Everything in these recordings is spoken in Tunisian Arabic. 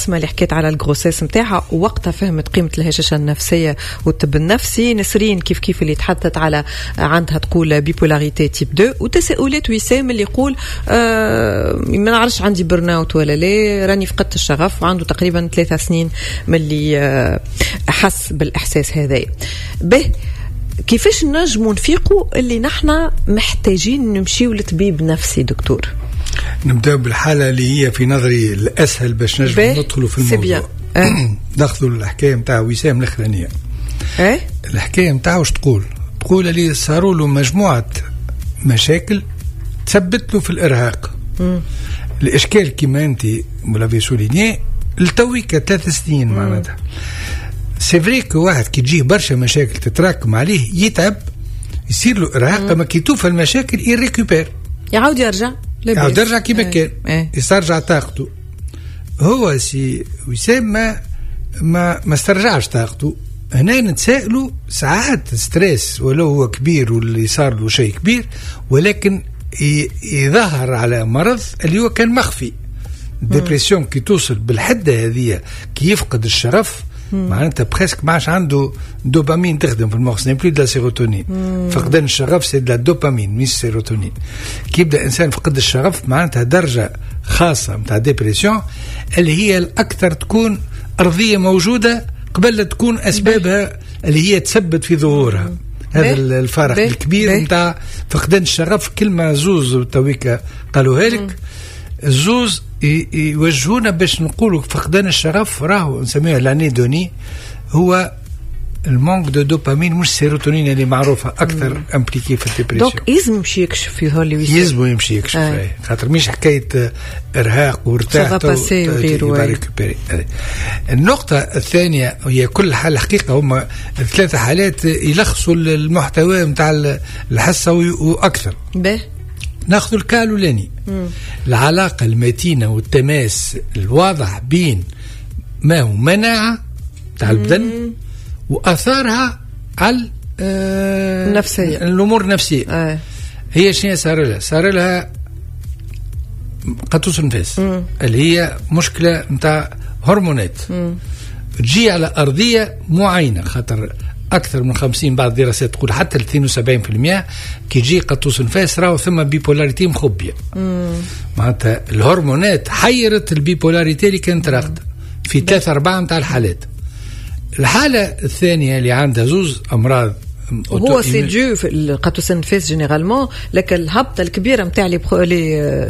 اسماء اللي حكيت على ال grossesse نتاعها ووقتها فهمت قيمة الهشاشه النفسية والطب النفسي. نسرين كيف كيف اللي تحدثت على عندها تقول bipolarité type 2، وتساؤلات وسام اللي يقول ما نعرفش عندي burn-out ولا لا، راني فقدت الشغف، وعنده تقريبا 3 سنين من اللي حس بالاحساس هذا به. كيفاش نجموا نفيقوا اللي نحن محتاجين نمشيو لطبيب نفسي دكتور؟ نبدأ بالحالة اللي هي في نظري الأسهل باش نجم ندخلوا في الموضوع. ناخذوا الحكاية نتاع وسام الأخرانية. الحكاية نتاعو واش تقول؟ تقول اللي صاروا له مجموعة مشاكل تثبت له في الإرهاق. الإشكال كما أنت vous l'avez souligné، لتويك 3 سنين، معناتها c'est vrai que واحد كي تجيه برشا مشاكل تتراكم عليه يتعب، يصير له ارهاق، اما كي توفى المشاكل il récupère. يعاود يرجع. يعاود يرجع كيما كان، يسترجع طاقته. هو سي وسام ما استرجعش طاقته. هنا نتسائلوا، ساعات stress ولو هو كبير واللي صار له شيء كبير، ولكن يظهر على مرض اللي هو كان مخفي. dépression كي توصل بالحده هذه، كي يفقد الشغف، معناتها presque ما عادش عنده دوبامين تخدم في المخ، n'est plus de la sérotonine. فقدان الشغف c'est de la dopamine مش سيروتونين. كي يبدا انسان فقد الشغف معناتها درجه خاصة نتاع dépression اللي هي الاكثر تكون ارضية موجودة قبل لا تكون اسبابها اللي هي تثبت في ظهورها. هذا الفارق الكبير نتاع فقدان الشغف. كلمة زوز تويكا قالوها لك، الزوز يوجهونا باش نقولوا فقدان الشغف راهو نسميها l'anhédonie، هو ال manque de dopamine مش سيروتونين اللي معروفة اكثر impliquée في ال dépression. donc يلزم يمشي يكشف يظهر لي. يلزم يمشي يكشف، خاطر مش حكاية ارهاق وارتاح. وغيره. النقطة الثانية هي كل حاله، الحقيقة هما الثلاثة حالات يلخصوا المحتوى نتاع الحصة واكثر. به. ناخذ ال cas الاولاني، العلاقة المتينة والتماس الواضح بين ما هو مناعة تاع البدن واثارها على النفسيه. الامور النفسيه. هي شنو صار لها؟ صار لها قطوس النفاس اللي هي مشكلة نتاع هرمونات تجي على ارضية معينه، خاطر اكثر من 50، بعض الدراسات تقول حتى 72%، كي يجي قطوس نفاس راهو ثم bipolarité مخبيه. معناتها الهرمونات حيرت ال bipolarité اللي كانت راقده في ثلاثة أربعة نتاع الحالات. الحالة الثانية اللي عندها زوز أمراض. هو c'est dû القطوس النفاس généralement لك الهبطه الكبيرة نتاع les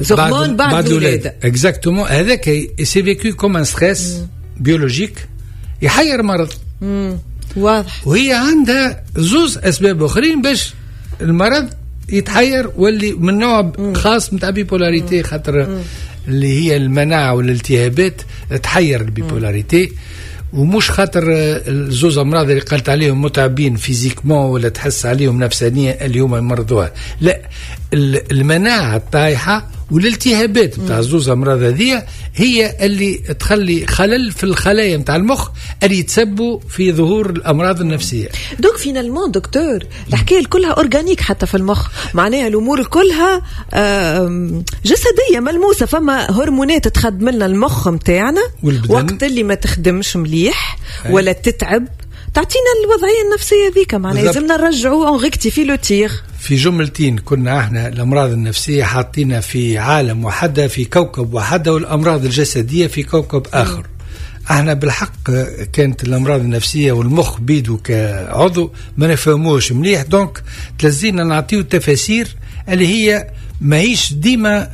hormones بعد الولادة. exactement، هذاك c'est vécu comme un stress biologique يحير مرض. وهي عندها زوز اسباب اخرين باش المرض يتحير واللي من نوع خاص نتاع bipolarité، خاطر اللي هي المناعة والالتهابات تحير ال bipolarité، ومش خاطر الزوز امراض اللي قالت عليهم متعبين physiquement ولا تحس عليهم نفسانيا اللي هما مرضوها. لا، المناعة الطايحه والالتهابات نتاع الزوز امراض هذه هي اللي تخلي خلل في الخلايا نتاع المخ اللي يتسبوا في ظهور الامراض النفسيه. donc finalement دكتور الحكاية كلها organique حتى في المخ، معناها الامور كلها جسدية ملموسه، فما هرمونات تخدم لنا المخ نتاعنا وقت اللي ما تخدمش مليح ولا تتعب تعطينا الوضعية النفسية ذيك، معناها لازمنا نرجعوا on rectifie le tir. في جملتين، كنا احنا الامراض النفسية حاطينها في عالم وحده، في كوكب وحده، والامراض الجسدية في كوكب اخر. احنا بالحق كانت الامراض النفسية والمخ بيدو كعضو ما نفهموش مليح، donc تلزينا نعطيو تفاسير اللي هي ماهيش ديما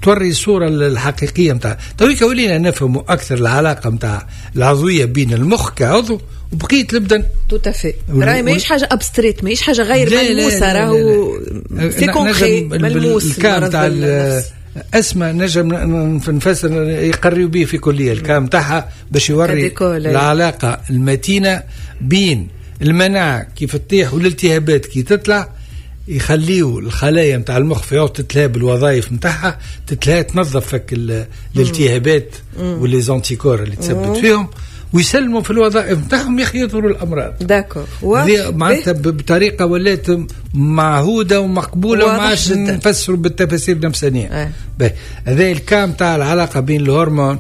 توري الصورة الحقيقية نتاع. تويكا ولينا نفهموا أكثر العلاقة نتاع العضوية بين المخ كعضو وبقية البدن. tout à fait، راهي ماهيش حاجة abstraite، ماهيش حاجة غير ملموسة، راهو c'est concret، ملموس. ال cas نتاع اسماء نجم نفسر، يقريوا به في كلية ال cas نتاعها باش يوري العلاقة المتينة بين المناعة كيف تطيح والالتهابات كي تطلع، يخليوا الخلايا نتاع المخ في عوض تتلهى بالوظائف نتاعها تتلهى تنظف الالتهابات و les anticorps اللي تثبت فيهم ويسلموا في الوظائف نتاعهم، يا اخي يظهروا الامراض. d'accord. معناتها بطريقة ولات معهوده ومقبوله وما عادش نفسروا بالتفاسير النفسانيه. هذا ال cas نتاع العلاقة بين الهرمون